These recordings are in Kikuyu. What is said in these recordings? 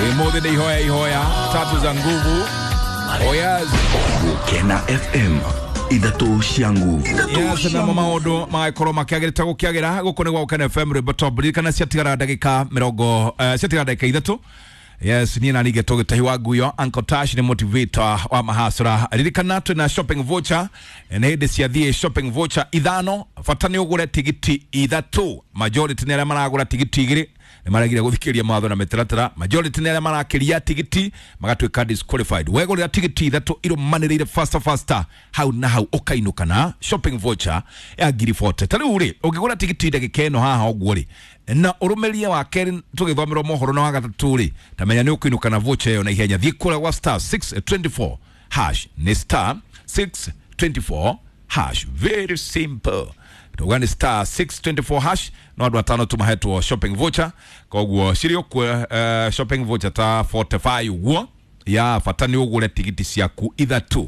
Imuthi nĩ ihoya ihoya tatu za nguvu. Oyaz. Gukena FM ithatũ cia nguvu. Yes, namo maũndũ magagĩkorwo makĩagĩrĩte gũkĩagĩra gũkũ nĩ gwa Gũkena FM rwĩmbo top. Ririkana ciatigara ndagĩka mĩrongo ciatigara ndagĩka ithatũ. Yes, niĩ na ningĩ tũgĩtahi wa nguyo Uncle Tash nĩ motivator wa mahasra. Ririkana twĩna shopping voucher, nĩ hĩndĩ ciathiĩ shopping voucher ithano, bata nĩ ũgũre tigiti ithatũ. Majority nĩ arĩa maragũra tigiti igĩrĩ nĩ maregire gũthikĩrĩria mawatho na mĩtaratara. Majority nĩ arĩa marakĩria tigiti magatuĩka disqualified. Wegũrĩra tigiti ithatũ irũmanĩrĩire faster faster hau na hau ũkainũka na shopping voucher ya ngiri 40. Ta rĩu rĩ, ũngĩgũra tigiti ndagĩka ĩno haha ũguo rĩ, na ũrũmĩrie wa kerĩ tũgĩthomerwo mohoro na wa gatatũ rĩ, ta menya nĩ ũkũinũka na voucher ĩyo na ihenya. Thiĩ kũrĩa gwa star 624 hash, nĩ star 624 hash, very simple. Tuga nĩ star 624 hash no andũ atano tumahetwo shopping voucher, koguo cirĩ ũkuo shopping voucher ta 45 ũguo ya bata nĩ ũgũre tigiti ciaku ithatũ.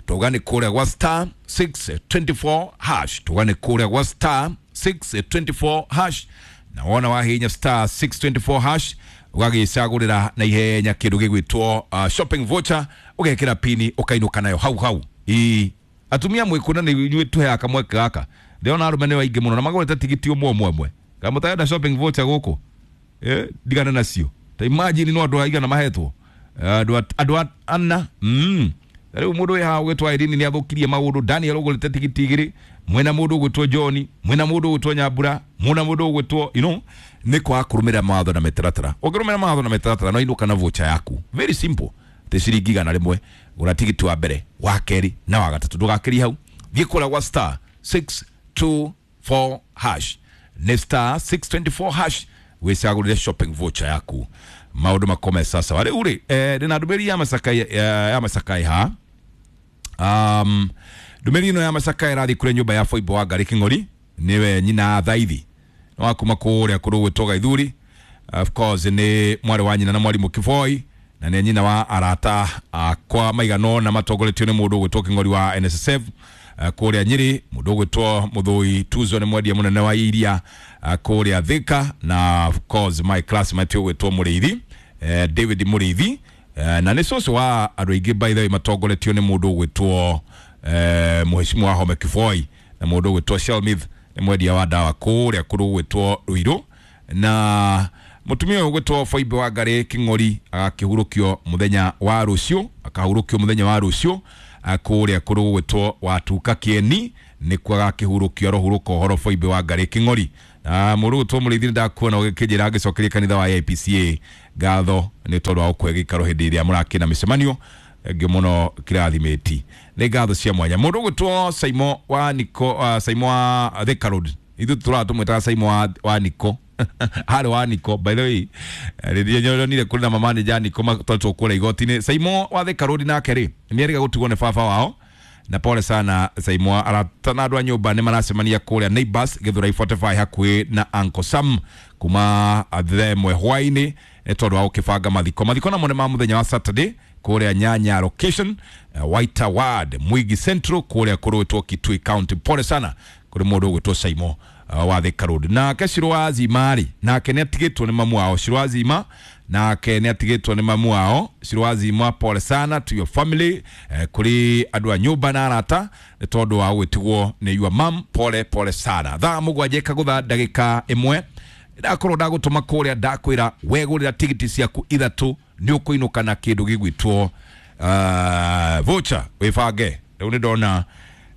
Tuga nĩ kũrĩa gwa star 624 hash, tuga nĩ kũrĩa gwa star 624 hash, na wona wahinya star 624 hash ũgagĩcagũrĩra na ihenya kĩndũ gĩgwĩtwo shopping voucher, ũgekĩra pini ũkainũka nayo hau hau. Ĩĩ, atumia mwĩkũna nĩ inyuĩ tũheaga kamweke gaka, ndĩrona arũme nĩ aingĩ mũno na magũrĩte tigiti ũmwe ũmwe ũmwe. Kana mũtarenda shopping voucher gũkũ, ndigane nacio. Ta imagine no andũ aigana mahetwo, andũ ana. Rĩu mũndũ wĩ haha ũgwĩtwo Irene nĩ athũkirie maũndũ. Daniel ũgũrĩte tigiti igĩrĩ, mwena mũndũ ũgwĩtwo John, mwena mũndũ ũgwĩtwo Nyambura, mwena mũndũ ũgwĩtwo you know, nĩ kwaga kũrũmĩrĩra mawatho na mĩtaratara. Ũngĩrũmĩrĩra mawatho na mĩtaratara no inũka na voucher yaku, very simple. Tĩ ciringi 100, gũra tigiti wa mbere, wa kerĩ na wa gatatũ, ndũgakĩrie hau. Thiĩ kũrĩa gwa star 624 hash, nĩ star 624 hash wĩcagũrĩre shopping voucher yaku, maũndũ makome sasa. Rĩu rĩ, ndĩna ndũmĩrĩri ya macakai, ya macakai ha. Ndũmĩrĩri ĩno ya macakai ĩrathiĩ kũrĩ nyũmba ya Foibo wa Ngarĩ Kĩng'ori, nĩwe nyina Thaithi nĩ wa kuma kũrĩa kũrĩ gwĩtwo Gaithuri. Of course nĩ mwarĩ wa nyina na mwarimũ Kiboi, na nĩ nyina wa arata akwa maigana ũna matongoretio nĩ mũndũ ũgwĩtwo Kĩng'ori wa NSSF kũrĩa Nyĩrĩ, mũndũ ũgwĩtwo Mũthũi Tuzo nĩ mwendia mũnene wa iria kũrĩa Thika, na of course my classmate ũgwĩtwo Mũrĩithi, David Mũrĩithi, na nĩ cũcũ wa andũ aingĩ by the way matongoretio nĩ mũndũ ũgwĩtwo mũhecimu wa Home Kiboi, na mũndũ ũgwĩtwo Shelmith nĩ mwendia wa ndawa kũrĩa kũrĩ ũgwĩtwo Ruiru, na mũtumia ũyũ ũgwĩtwo Foibe wa Ngarĩ Kĩng'ori agakĩhurũkio mũthenya wa rũciũ, akahurũkio mũthenya wa rũciũ kũrĩa kũrĩ gũgwĩtwo Watuka Kĩeni, nĩkuo agakĩhurũkio, arohurũka ũhoro Foibe wa Ngarĩ Kĩng'ori. Na mũndũ ũgwĩtwo Mũrĩithi nĩndakuona ũgĩkĩnjĩra ngĩcokeria kanitha wa AIPCA ngatho nĩ tondũ wa gũkũhe gĩikaro hĩndĩ ĩrĩa mũrakĩna mĩcemanio ngĩ mũno kĩrathimĩti, nĩ ngatho cia mwanya. Mũndũ ũgwĩtwo Saimo wa Niko, Saimo wa Thika Road, ithuĩ tũraga tũmwĩtaga Saimo wa Niko harĩ wa Niko, by the way rĩrĩa nyonire kũrĩ na mamanager Niko matwarĩtwo kũrĩa igoti-inĩ. Saimo wa Thika Road nake rĩ nĩ erĩga gũtigwo nĩ baba wao, na pole sana Saimo. Arata na andũ a nyũmba nĩ maracemania kũrĩa Neighbors Gĩthũrai 45 hakuhĩ na Uncle Sam kuma themwe hwaĩ-inĩ nĩ tondũ wa gũkĩbanga mathiko. Mathiko namo nĩ ma mũthenya wa Saturday kũrĩa Nyanya location, White Ward Mwigi Central kũrĩa kũrũĩtwo Kitui County. Pole sana kũrĩ mũndũ ũgwĩtwo Saimo wa Thika Road. Nake Shiro wa Zima rĩ, nake nĩ atigĩtwo nĩ mamu wao. Shiro wa Zima nake nĩ atigĩtwo nĩ mamu wao. Shiro wa Zima, pole sana to your family, kũrĩ andũ a nyũmba na arata nĩ tondũ wa gwĩtigwo nĩ your mum. Pole pole sana. Thaa mũgwanja ĩkagũtha ndagĩka ĩmwe, ndakorwo ndagũtũma kũrĩa ndakwĩra wegũrĩra tigiti ciaku ithatũ nĩ ũkũinũka na kĩndũ gĩgwĩtwo voucher. Wĩbange rĩu nĩ ndona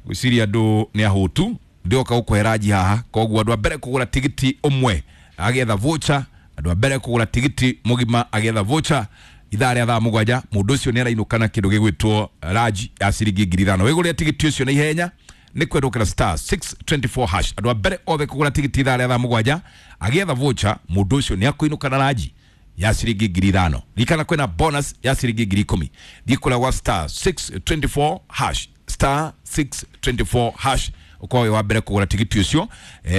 gwĩciria andũ nĩ ahũtu, ndĩoka gũkũhe ranji haha, koguo andũ a mbere kũgũra tigiti ũmwe agĩetha voucher, andũ a mbere kũgũra tigiti mũgima agĩetha voucher ithaa rĩa thaa mũgwanja, mũndũ ũcio nĩ arainũka na kĩndũ gĩgwĩtwo ranji ya ciringi 5,000. Wĩgũrĩre tigiti ũcio na ihenya nĩ kwendũkĩra star 624 hash. Andũ a mbere othe kũgũra tigiti ithaa rĩa thaa mũgwanja agĩetha voucher, mũndũ ũcio nĩ akũinũka na ranji ya ciringi 5,000. Ririkana kwĩna bonus ya ciringi 10,000. Thiĩ kũrĩa gwa star 624 hash, star 624 hash, ũkorwo wĩ wa mbere kũgũra tigiti ũcio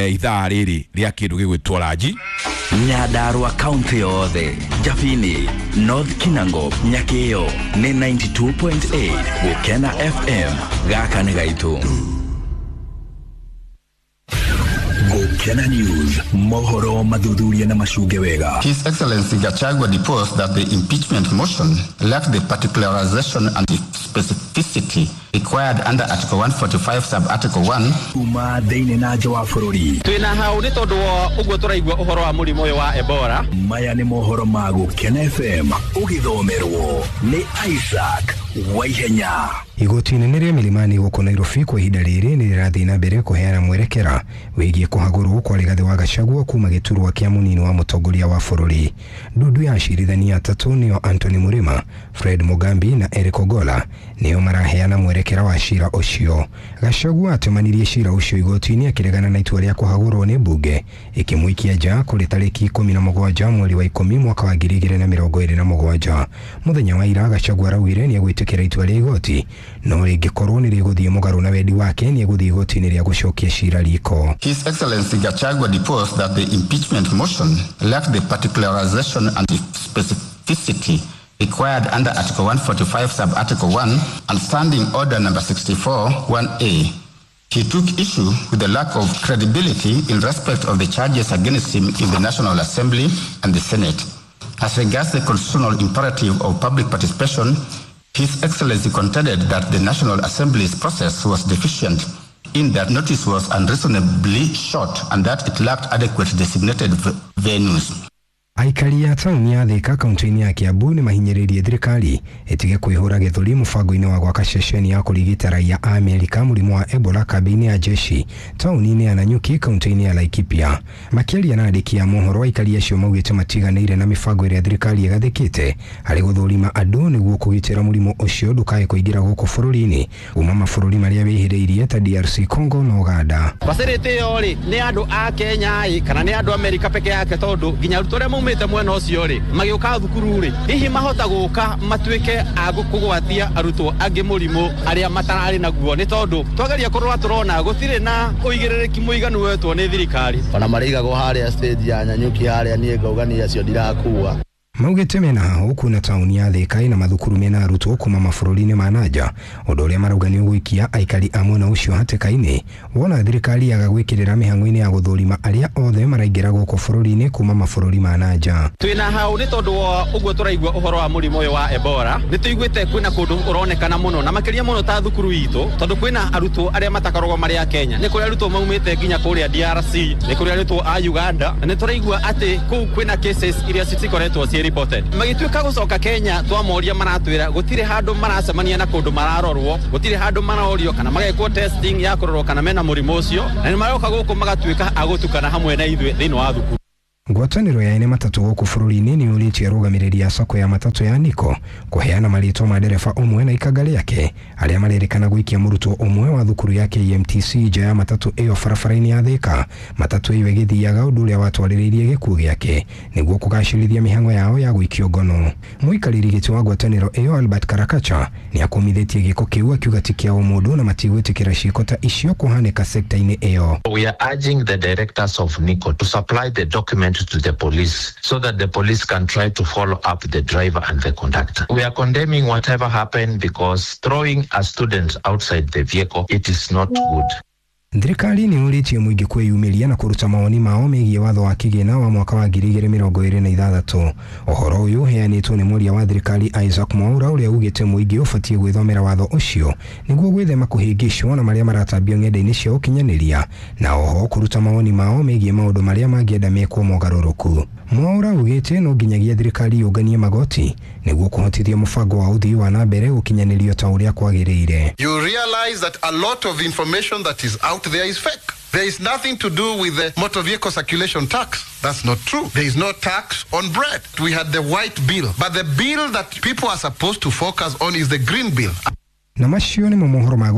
ithaa rĩrĩ rĩa kĩndũ gĩgwĩtwo ranji. Nyandarua kaunti yothe, Jabini, North Kinango, Nyakĩo nĩ 92.8 Gũkena FM. Gaka nĩ gaitũ. Gukena News, mohoro mathuthuria na macunge wega. His Excellency Gachagua deposed that the impeachment motion lacked the particularization and the specificity required under Article 145 sub Article 1. Kuma thĩinĩ na nja wa bũrũri. Twĩna hau nĩ tondũ wa ũguo tũraigua ũhoro wa mũrimũ ũyũ wa Ebola. Maya nĩ mohoro ma Gukena FM ũgĩthomerwo nĩ Isaac Waihenya. Igoti inene rĩa Milimani gũkũ Nairobi kwa ihinda rĩrĩ nĩ rĩrathiĩ na mbere kũheana mwerekera wĩgiĩ kũhagũrwo kwa Rigathĩ wa Gachagua kuma gĩturwa kĩa mũnini wa mũtongoria wa bũrũri. Ndundu ya acirithania atatũ nĩo Anthony Murima, Fred Mugambi na Eric Ogola nĩo maraheana mwerekera wa cira ũcio. Gachagua atemanirie cira ũcio igoti-inĩ akĩregana na itua rĩa kũhagũrwo nĩ mbunge ĩkĩmũikia nja kũrĩ tarĩki 17 mweri wa 10 mwaka wa 2027. Mũthenya wa ira Gachagua araugire nĩ egwĩtĩkĩra itua rĩa igoti no rĩngĩkorwo nĩ rĩgũthiĩ mũgarũ na wendi wake nĩ egũthiĩ igoti-inĩ rĩa gũcokia cira riko. His Excellency Gachagua deposed that the impeachment motion lacked the particularization and the specificity required under Article 145 sub Article 1 and Standing Order number 64 1A. He took issue with the lack of credibility in respect of the charges against him in the National Assembly and the Senate. As regards the constitutional imperative of public participation, His Excellency contended that the National Assembly's process was deficient in that notice was unreasonably short and that it lacked adequate designated venues. Aikari a taũni ya Thika kaunti-inĩ ya Kiambu nĩ mahinyĩrĩirie thirikari ĩtige kwĩhũra gĩthũri mũbango-inĩ wa gwaka ceceni ya kũrigita raia a Amerika mũrimũ wa Ebola kambĩ-inĩ ya jeshi taũni-inĩ ya Nanyuki kaunti-inĩ ya Laikipia. Makĩaria na andĩki a mohoro, aikari acio maugĩte matiganĩire na mĩbango ĩrĩa thirikari ĩgathĩkĩte harĩ gũthũrima andũ nĩguo kũgitĩra mũrimũ ũcio ndũkae kũingĩra gũkũ bũrũri-inĩ kuma mabũrũri marĩa wĩhĩrĩirie ta DRC Congo na Uganda. Facility ĩyo rĩ nĩ andũ a Kenya ĩ kana nĩ andũ Amerika peke yake tondũ nginya arutwo arĩa maumĩte mwena ũcio rĩ magĩũka thukuru rĩ hihi mahota gũka matuĩke a kũgwatia arutwo angĩ mũrimũ arĩa matararĩ naguo nĩ tondũ twageria kũrora tũrona gũtirĩ na ũigĩrĩrĩki mũiganu wetwo nĩ thirikari. Ona marĩigagwo harĩa stage ya Nanyuki harĩa niĩ ngauga niĩ acio ndirakua. Maugĩte mena hahũ kuna taũni ya Thika ĩna mathukuru mena arutwo kuma mabũrũri-inĩ ma nanja, ũndũ ũrĩa marauga nĩ ũgũikia aikari a mwena ũcio hatĩka-inĩ wona thirikari yaga gwĩkĩrĩra mĩhang'o-inĩ ya gũthũrima arĩa othe maraingĩra gũkũ bũrũri-inĩ kuma mabũrũri ma nanja. Twĩna hau nĩ tondũ wa ũguo tũraigua ũhoro wa mũrimũ ũyũ wa Ebola nĩ tũiguĩte kwĩna kũndũ ũronekana mũno na makĩria mũno ta thukuru itũ tondũ kwĩna arutwo arĩa matakoragwo marĩ a Kenya, nĩ kũrĩ arutwo maumĩte nginya kũrĩa DRC, nĩ kũrĩ arutwo a Uganda, na nĩ tũraigua atĩ kũu kwĩna cases iria cikoretwo ciĩ reported. Magĩtuĩka gũcoka Kenya twamoria maratwĩra gũtirĩ handũ maracemania na kũndũ mararorwo, gũtirĩ handũ marorio kana magekwo testing ya kũrorwo kana mena mũrimũ ũcio, na nĩ maroka gũkũ magatuĩka a gũtukana hamwe na ithuĩ thĩinĩ wa thukuru. Ngwatanĩro ya ene matatũ gũkũ bũrũri-inĩ nĩ yũrĩtie arũgamĩrĩri a sacco ya matatũ ya Niko kũheana marĩtwa ma ndereba ũmwe na ikanga rĩake arĩa marerĩkana gũikia mũrutwo ũmwe wa thukuru ya KMTC nja ya matatũ ĩyo barabara-inĩ ya Thika. Matatũ ĩyo ĩgĩthiaga ũndũ ũrĩa watwarĩrĩirie gĩkuũ gĩake nĩguo kũgacĩrithia mĩhang'o yao ya gũikio ngono. Mũikarĩri gĩtĩ wa ngwatanĩro ĩyo Albert Karakacha nĩ akũmithĩtie gĩko kĩu akiuga ti kĩa ũmũndũ na matigwĩtĩkĩra ciĩko ta icio kũhanĩka sekta-inĩ ĩyo. We are urging the directors of Nico to supply the document to the police so that the police can try to follow up the driver and the conductor. We are condemning whatever happened because throwing a student outside the vehicle, it is not good. Thirikari nĩ yũrĩtie mũingĩ kwĩyumĩria na kũruta mawoni mao megiĩ watho wa kĩgĩna wa mwaka wa 2026. Ũhoro ũyũ ũheanĩtwo nĩ mwaria wa thirikari Isaac Mwaura ũrĩa ugĩte mũingĩ ũbatiĩ gwĩthomera watho ũcio nĩguo gwĩthema kũhĩngĩcwo na marĩa maratambio ng'enda-inĩ cia ũkinyanĩria na oho kũruta mawoni mao megiĩ maũndũ marĩa mangĩenda mekwo mogarũrũku. Mwaura ugĩte no nginyagia thirikari yũnganie magoti nĩguo kũhotithia mũbango wa ũthii wa na mbere gũkinyanĩrio ta ũrĩa kwagĩrĩire. You realize that a lot of information that is out there is fake. There is nothing to do with the motor vehicle circulation tax. That's not true. There is no tax on bread. We had the white bill, but the bill that people are supposed to focus on is the green bill. Na macio nĩmo mohoro ma